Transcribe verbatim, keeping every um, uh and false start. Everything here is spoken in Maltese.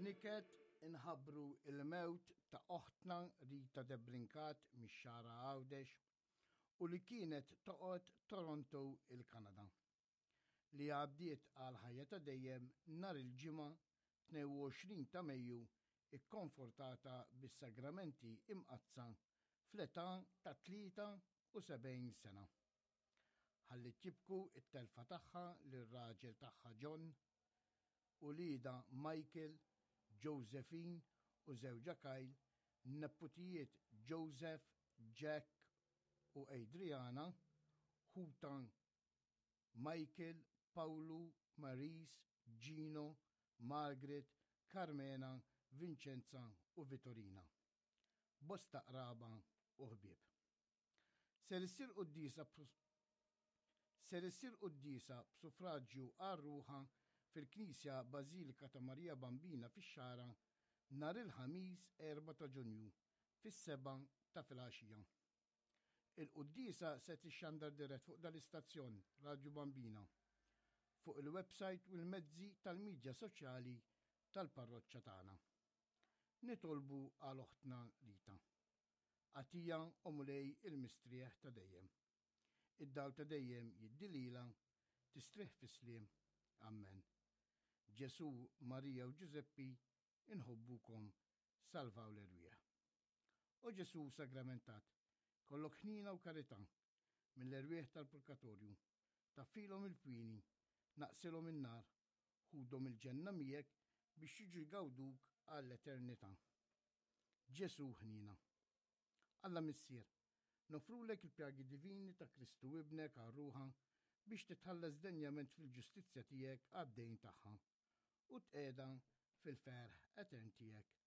B'niket inħabbru il-mewt ta' oħtna Rita Debrincat mix-Xagħra Għawdex u li kienet toqgħod Toronto, il-Kanada, li għaddiet għal ħajja ta' dejjem nhar il-Ġimgħa tnejn u għoxrin ta' Mejju, ikkonfortata bis-sagramenti imqaddsa fl-età ta' tlieta u sebgħin sena. Ħalliet jibku it-telfa tagħha lir-raġel tagħha John, uliedha Michael, Josephine u żewġha Kyle, neputijiet Joseph, Jack u Adriana, ħutha Michael, Paulu, Maris, Gino, Margaret, Carmena, Vincenza u Vittorina. Bosta qraba u ħbieb. Ser issir quddisa Ser issir quddisa b'suffraġġju għal ruħha fil-Knisja Bażilika ta' Marija Bambina fix-Xagħra nhar il-Ħamis erbgħa ta' Ġunju fis-sebgħa ta' filgħaxija. Il-quddisa se tixxandar dirett fuq dal-istazzjon Radio Bambina, fuq il-website u l-mezzi tal-midja soċjali tal-parroċċa tagħna. Nitolbu għal oħtna Rita. Agħtiha, o Mulej, il-mistrieħ ta' dejjem. Id-dawl ta' dejjem jiddi lilha, tistrieħ fis-sliem. Amen. Ġesu, Marija u Ġużeppi, inħobbukom, salvaw l-erwieħ. O Ġesu sagramentat, kollok ħnina u karità, mill-erwieħ tal-purgatorju, taffilhom il-pini, naqqsilhom in-nar, ħudhom il-ġenna miegħek biex jiġu jgawduk għall-eternità. Ġesu ħnina. Alla Missier, noffrulek il-pjagi divini ta' Kristu Ibnek għal ruħha biex titħallas denjament fil-ġustizzja tiegħek għad-dejn tagħha u tqiegħda fil-ferħ etern tiegħek.